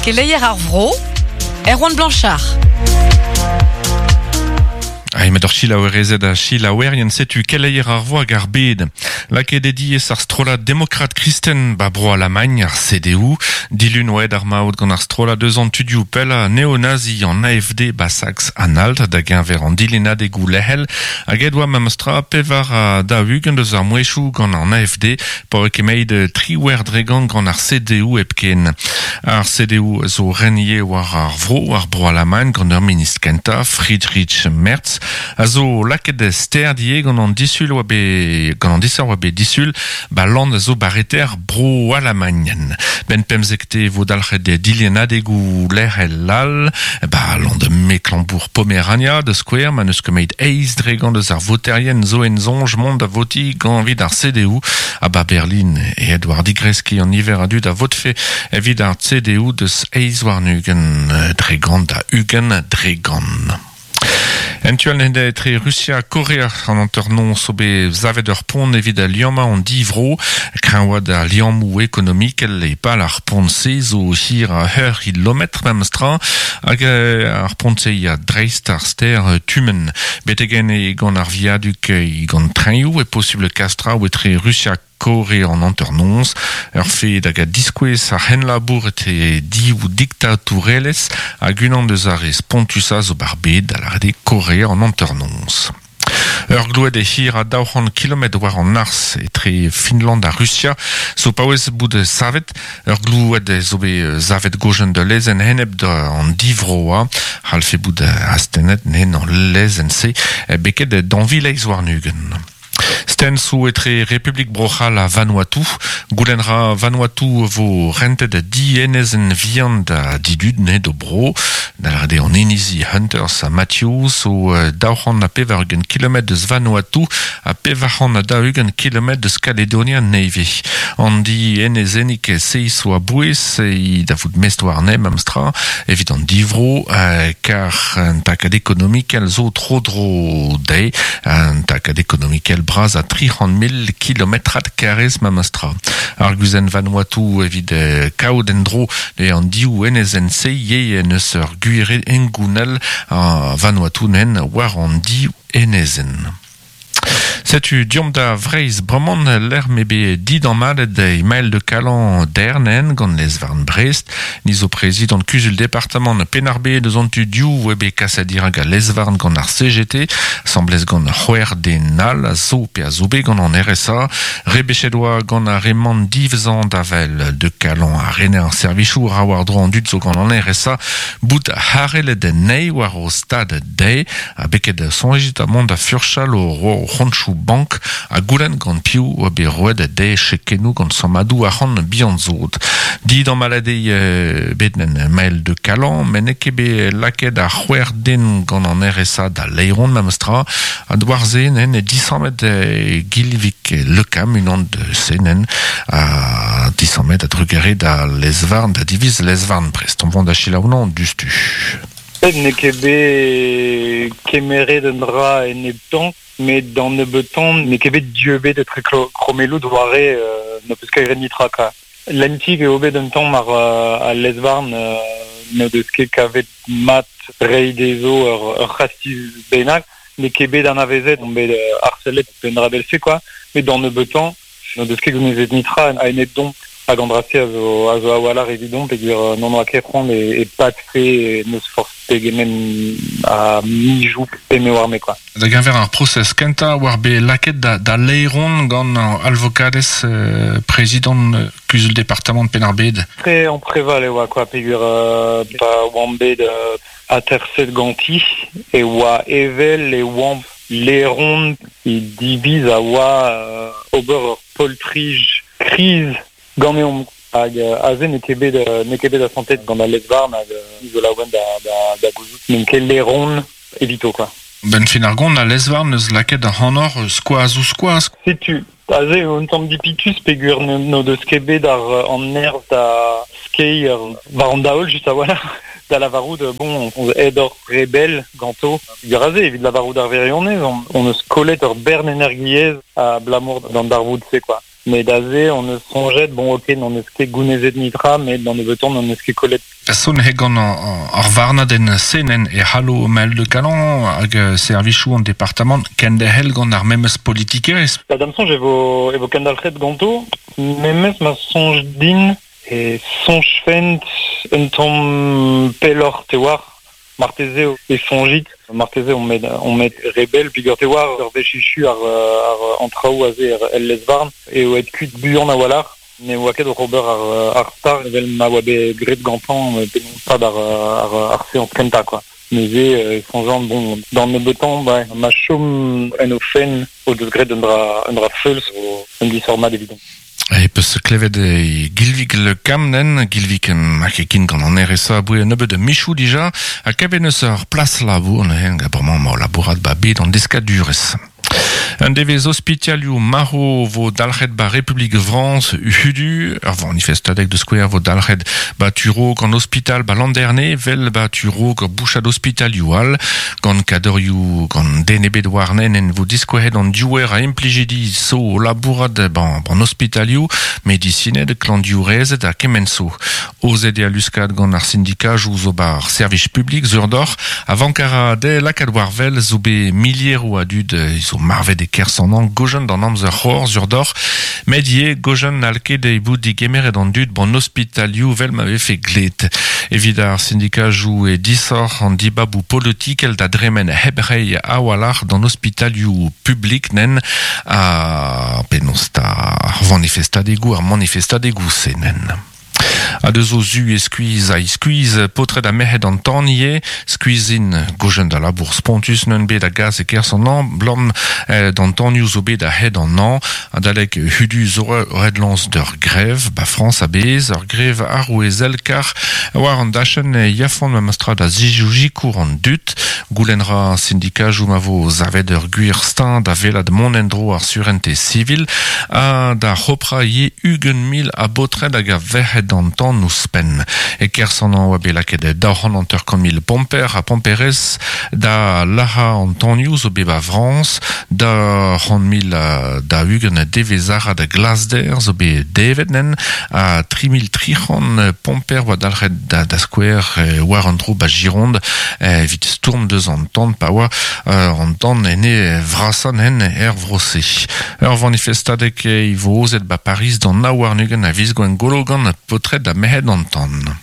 Keleier ar vro, Erwan Blanchard. Ai met ur chilaouerezed ha chilaouerien setu keleier ar vo hag ar bed. Lakaet eo diaes ar strollad demokrat kristen ba bro Alamagn, ar CDU. Dilun oa aet ar maout gant ar strollad eus an tudioù pellañ neonazi an AFD ba Saks-Anhalt da geñver an dilennadegoù lec'hel. Hag aet oa memestra 44 eus ar mouezhioù gant an AFD pa oa ket 18% gant ar CDU hepken. Ar CDU zo ren ivez war ar vro, war Bro-Alamagn, gant ur ministr kentañ, Friedrich Merz, a zo lakaet sterd ivez gant an disul oa bet gant an disoc'h oa bet disul ba land a zo bareter Bro-Alamagn. Benn pemzekte e vo dalc'het dilennadegoù lec'hel all ba land Mecklembourg-Pomerania, da skouer, ma n'eus ket met 8% eus ar voterien zo en soñj mont da votiñ gant evit ar CDU. Ha ba Berlin aet war digreskiñ an niver a dud a votfe evit ar CDU deus 28% da 20%. En tu all etre Rusia ha Korea an hanternoz zo bet savet ur pont evit liammañ an div vro. Kreñvaat ar liammoù ekonomikel e pal ar pont-se zo hir a ur c'hilometr memes tra hag ar pont-se ya dreist ar stêr Tumen. Betek enne gant ar viadug gant trenioù e posubl kas traoù etre Rusia Kore an hanternoz, ur fed hag a diskouez ar c'henlabour etre div diktatourelezh hag unan deus ar re spontusañ zo ba'r bed, da lâret eo Korea an hanternoz. Ur gloued hir a 200 kilometr war an arz etre Finland ha Rusia zo paouez bout savet. Ur gloued zo bet savet gojenn da lezenn enep d'an divroañ. C'hallfe bout astennet n'en an lezenn-se beket dañvileiz warn-ugent. Stensoù etre Republik Bro-C'hall ha Vanuatu. Goulenn ra Vanuatu vo rentet di enezenn vihan da didud ne d'o bro. Da lâret eo an inizi Hunters ha Matthews zo 280 kilometr deus Vanuatu ha 440 kilometr deus Kaledonia Nevez. An di enezennig seizh zo a-bouez da vout mestr warne memestra evit an divro kar un takad ekonomikel zo tro-dro dezhe, un takad ekonomikel bras a 300 000 kilometrad karrez memestra. Ar guzenn Vanuatu evit kaout en-dro an div enezenn-se ivez en eus ur gwir hengounel a Vanuatu nen war an div enezenn. Setu deomp da Vreizh bremañ lec'h m'eo bet didamallet Emael de Calan dernen gant lez-varn Brest. Ni zo prezidant kuzul departamant Penn-ar-Bed eus an tu div eo bet kaset dirak al lez-varn gant ar CGT, asambles gant c'hwec'h den all a zo pe a zo bet gant an RSA. Rebechet oa gant ar re-man divzañ da wel de Calan ha rener ar servijoù ra war-dro an dud zo gant an RSA bout harellet anezhi war o stad dezhe Ha beket soñjit ha mont da furchal o c'hontoù bank ha goulenn gant piv oa bet roet dezhe chekennoù gant sammadoù arc'hant bihan-sod. Didammallet eo bet en Mael de Calan, met n'eo ket bet lakaet ar c'hwec'h den gant an RSA da laeron memestra. Ha war-se nen e disammet Gilvig Le Cam, unan deus enen, ha disammet a-drugarez da lez-varn, da diviz lez-varn prest. On vont da selaou 'nañ diouzhtu. N'eo ket bet kemeret un dra eneptañ, met d'an nebeutañ n'eo ket bet dieubet etre krommelloù doare n'ho peus ket graet netra kwa. Lentik eo bet un tamm ar al lez-varn n'o deus ket kavet mat reiñ dezho ur c'hastiz bennak. N'eo ket bet anavezet, omp bet harcelet pe un dra evel-se kwa, met d'an nebeutañ N'o deus ket gounezet netra a-enep domp hag an dra-se a zo, a zo a-walc'h evidomp peogwir n'hon oa ket c'hoant e, e padfe n'eus forzh pegement a mizoù pe me oar me quoi. Da geñver ar prosez kentañ war bet lakaet da, da laeron gant alvokadez euh, prezidant euh, kuzul departamant Penn-ar-Bed. Tre ampreval e oa quoi peogwir euh, pa oamp bet euh, aterset ganti e oa evel e oamp Laeron he diviz a oa ober ur poltrij kriz ganeomp hag aze n'eo ket bet n'eo ket bet asantet gant al lez-varn hag ni zo laouen da da gouzout n'omp ket laeron evito quoi. Benn fin ar gont, al lez-varn 'neus lakaet ac'hanoc'h skoaz ouzh skoaz. Setu, aze eo un tamm dipitus peogwir n'o deus ket bet ar an nerzh da skeiñ war an daol just a-walc'h da lavarout bon aet oc'h re bell ganto. Dra-se, evit lavarout ar wirionez, on, on eus kollet ur bern energiezh abalamour d'an darvoud-se, quoi. Met aze hon eus soñjet, bon ok, n'hon eus ket gounezet nitra, met d'an nebeutañ n'hon eus ket kollet. Son he gant ar varnadenn senenn e c'hallo Maël de Calan hag servijoù an departamant kenderc'hel gant ar memes politikerezh. Ba da'm soñj e vo, e vo kendalc'het ganto, memes ma soñj din e soñjfent un tamm pelloc'h te oar. Marteze e soñjit, marteze on met, on met re bell peogwir te oar ur wech echu ar, ar, an traoù aze er, el lez-varn eo aet kuit buan a-walc'h. Ne oa ket oc'h ober ar, ar star evel ma oa bet graet gantañ penaos stad ar, ar, ar seañs kentañ quoi. Neuze e soñjan bon d'an nebeutañ ba, ma chom en o fenn o deus graet un dra, un dra feuls un disoc'h mat evidon. E peus klevet e Gilvig Le Camnen, Gilvig hag e kin gant an RSA aboe un nebeud michoù dija, ha kavet neus ur plas labour neuze, bremañ emañ o labourat ba bed an deskadurezh. Un devezh ospitalioù marv vo dalc'het ba Republik Frañs hudu, ur vanifestadeg da skouer vo dalc'het ba tu-raok an ospital ba Landerne, 'vel ba tu-raok ur bouchad ospitalioù all, gant kadorioù gant den ebet warnen en vo diskouezet an diouer a implijidi zo o labourat ban an ospitalioù, medisined, klañvdiourezed ha kement zo. Aozet eo al luskad gant ar sindikajoù zo 'ba ar servij publik sur deoc'h a vank a ra dezhe lakaat war wel zo bet milieroù a dud zo marvet e-kerzh an hañv gojenn d'an amzer c'hor sur deoc'h met ivez gojenn n'hall ket bout digemeret an dud 'ban ospitalioù 'vel ma vefe glet. Evit ar sindikajoù eo disoc'h an dibaboù politikel da dremen hep reiñ a-walc'h d'an ospitalioù publik nen ha penaos 'ta ar vanifestadegoù ar manifestadegoù-se nen. Ha deus o zu e skuizh ha iskuizh paotred ha merc'hed an tan ivez. Skuizh int gojenn da labour spontus n'eun bet a gas e-kerzh an hañv 'blam d'an tanioù zo bet a-hed an hañv. Adalek hudu zo ret lañs d'ur grev 'ba Frañs a-bezh, ur grev arouezel kar war an dachenn e yafont memestra da sikour an dud. Goulenn 'ra sindikajoù ma vo savet ur gwir steuñv da welat mont en-dro ar surentez sivil ha da c'hoprañ ivez 20,000 a baotred hag a verc'hed an tan ouzhpenn. E-kerzh an hañv oa bet lakaet 250,000 pomper ha pomperez da lazhañ an tanioù zo bet 'ba Frañs, 240 devezh-arat glasder zo bet devet nen ha 3300 pomper oa dalc'het da skouer war an dro 'ba Gironde evit stourm deus an tan pa oa an tan en e vrasañ nen er vro-se. Ur vanifestadeg e vo aozet 'ba Pariz d'an 29 a viz Gwengolo gant paotred ha merc'hed an tan.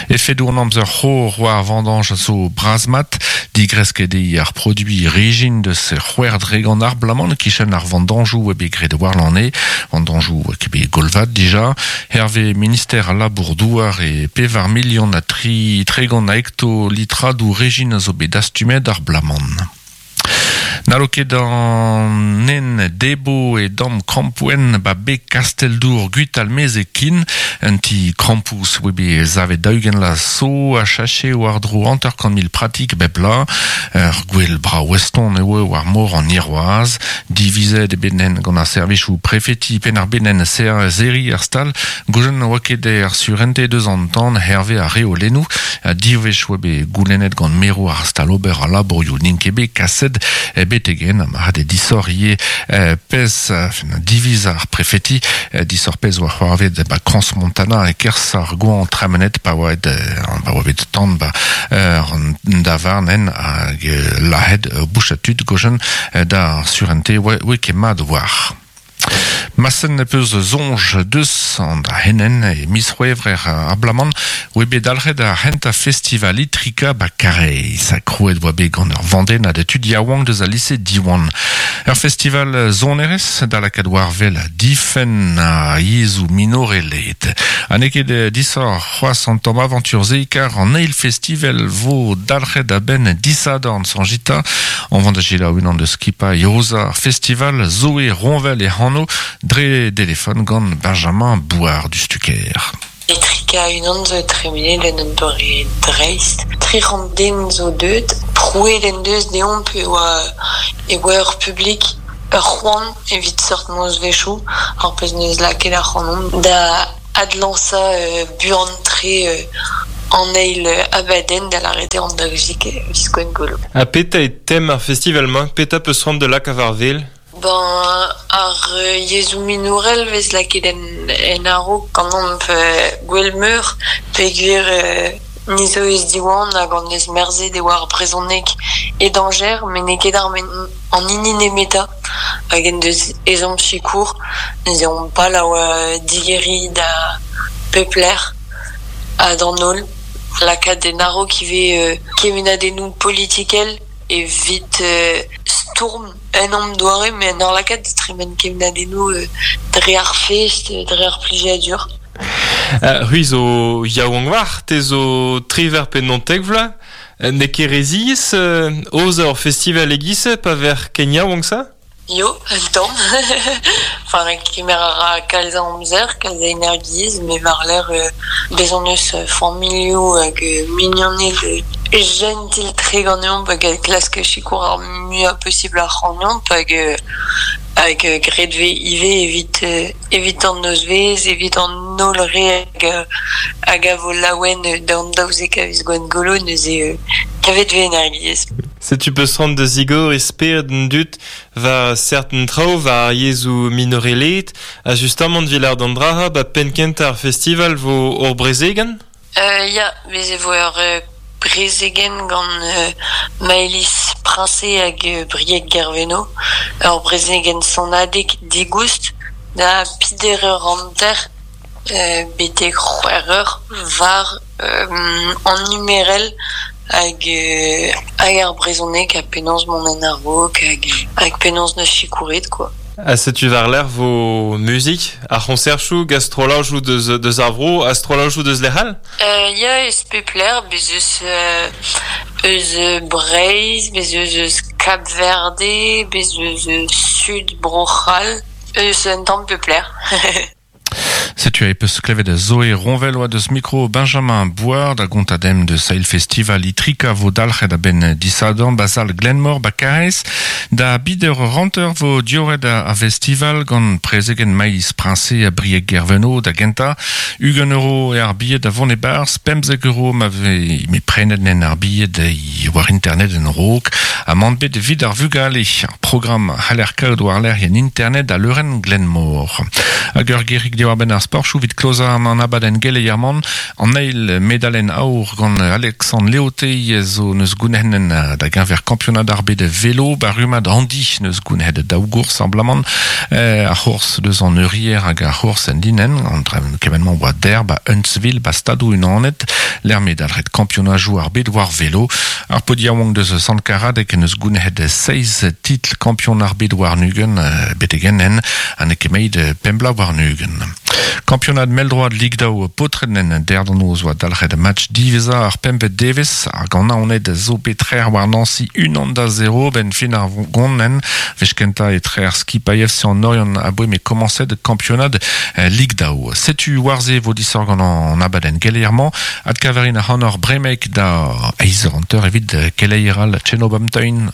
Efedoù an amzer c'hor war vendanj a zo bras-mat. Digresket eo ar produiñ rejin deus 6% ar bloaz-mañ e-kichen ar vendanjoù eo bet graet warlene. Vendanjoù eo bet golvat dija. Hervez minister al Labour-douar e pevar milion ha tri tregont a hektolitradoù rejin a zo bet dastumet ar bloaz-mañ. N'hallo ket an nen debo e damm krampouezhenn 'ba beg Kastell-Dour Gwitalmeze kin. Un ti krampouz oa bet savet 40 vloaz zo a chache war-dro 50,000 pratik bep bloaz. Ur gwel brav eston eo war mor an Hirwazh. Divizet eo bet nen gant ar servijoù prefeti Penn-ar-Bed nen serriñ ar stal. Goulenn oa ket er surentez deus an tan hervez ar reolennoù. Div wech oa bet goulennet gant merour ar stal ober al labourioù n'int ket bet kaset betek-henn. Mat eo disoc'h ivez pezh diviz ar prefeti. Disoc'h pezh oa c'hoarvezet ba Crans-Montana e-kerzh ar goañv tremenet pa oa pa oa bet tan ba an davarn en hag lazhet ur bouchad tud gojenn d'ar surentez oa ket mat war. Massen peus soñj deus an dra-henn e miz C'hwevrer ar bloaz-mañ oa bet dalc'het ar c'hentañ festival Itrika 'ba Karaez. Krouet oa bet gant ur vandennad tud yaouank deus al lise Diwan. Ur festival sonerezh da lakaat war-wel difenn ar yezhoù minorelaet. Ha n'eo ket disoc'h c'hoazh an tamm avantur-se kar an eil festival 'vo dalc'het a-benn disadorn soñjit 'ta. On vont da selaou unan deus skipailh aozañ ar festival Zoé Ronvel e anv dre delefon gant Benjamin Bouard du Stuker. Etrika unan zo tremenet en un doare dreist. 300 den zo deuet. Prouet en deus deomp e oa e oa ur publik ur c'hoant evit seurt nozvezhioù, ar pezh 'neus lakaet ac'hanomp da adlañsañ buan-tre an eil abadenn da lâret eo an daouzek viz Gwengolo. Ha petra eo tem ar festival-mañ? Petra 'peus c'hoant da lakaat war wel? Ben ar yezhoù minorel vez lakaet en, en a-raok gant omp Gwelmeur peogwir ni zo eus Diwan hag an eus merzet e oa ar brezhoneg e dañjer met n'eo ket ar an hini nemetañ hag en deus ezhomm sikour. Neuze omp pal a oa digeriñ da pep lec'h ha d'an holl. Lakaat en a-raok ivez kemennadennoù politikel evit stourm un tamm doare met en ur lakaat da tremen kemennadennoù dre ar fest, dre ar plijadur. C'hwi zo yaouank war, te zo triwec'h pe naontek vloaz. N'eo ket re ziaes aozañ ur festival e-giz-se pa vec'h ken yaouank-se? Yo, un tamm. Enfin, kemer a ra kalz a amzer, kalz a energiezh, met war-lerc'h bez hon eus familhoù hag mignoned jentil-tre ganeomp hag a klask sikour ar muiañ posibl ac'hanomp hag hag graet 'vez ivez evit evit an nozvezh, evit an holl re hag hag a vo laouen d'an 12 a viz Gwengolo neuze kavet 'vez energiezh. Setu peus c'hoant da zigor e spered an dud war serten traoù war ar yezhoù minorelaet ha justamant evit lâret an dra-se 'ba penn-kentañ ar festival 'vo ur brezegenn? Ya, bez' e vo ur brezegenn gant Maëlys Princé hag Brieg Guerveno, ur brezegenn sonadeg digoust da peder eur hanter betek c'hwec'h eur war an numerel hag hag ar brezhoneg ha penaos mont en a-raok hag hag penaos 'neus sikouret quoi. Ha setu war-lerc'h 'vo muzik, ar c'hoñserchoù, gant strollajoù deus, deus ar vro ha strollajoù deus lec'h all? Ya, eus pep lec'h, bez' eus eus Breizh, bez' eus eus Kab-Verde, bez' eus eus Sud Bro-C'hall, eus un tamm pep lec'h. Setu e peus klevet Zoé Ronvel oa deus mikro Benjamin Bouard da gontañ demp deus eil festival Itrika vo dalc'het a-benn disadorn ba sal Glenmor ba Karaez. Da bider ranter vo dioret ar festival gant prezegenn Maïs Princé ha Brieg Guerveno da gentañ. 20 euro eo ar bilhed da vont e-barzh, 15 euro ma vez met prenet nen ar bilhed war internet en raok ha mann bet evit ar vugale. Ar programm a c'haller kaout war-lerc'h en internet a leurenn Glenmor. Hag ur gerig diwar-benn ar sportoù evit klozañ an abadenn geleier-man. An eil medalenn aour gant Alexandre Léauté zo neus gounenn da geñver kampionad ar bed velo ba rummad Andy neus gounhet daou gours ablamant ar c'hours deus an eurier hag ar c'hours en linenn an kement-mañ oa der ba Huntsville ba Stadoù-Unanet lec'h m'eo dalc'het kampionajoù ar bed war velo. Ar paotr yaouank deus Sant-Karadeg en deus gounezet seizh titl kampion ar bed warn-ugent betek henn ha n'eo ket meit pemp bloaz warn-ugent. Kampionad mell-droad Lig daou paotred en derdonoz oa dalc'het match diwezhañ ar pempvet devezh. Ar Ganaoned zo bet trec'h war Nancy 1-0 benn fin ar gonenn. Wech kentañ e trec'h skipailh FC an Oriant aboe m'eo komañset kampionad Lig daou. Setu war-se vo disoc'h gant an abadenn geleier-mañ. Adkaverin ac'hanoc'h bremek da eizh eur hanter evit keleier all Tchenobamtein.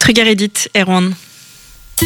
Trugarez dit, Erwan.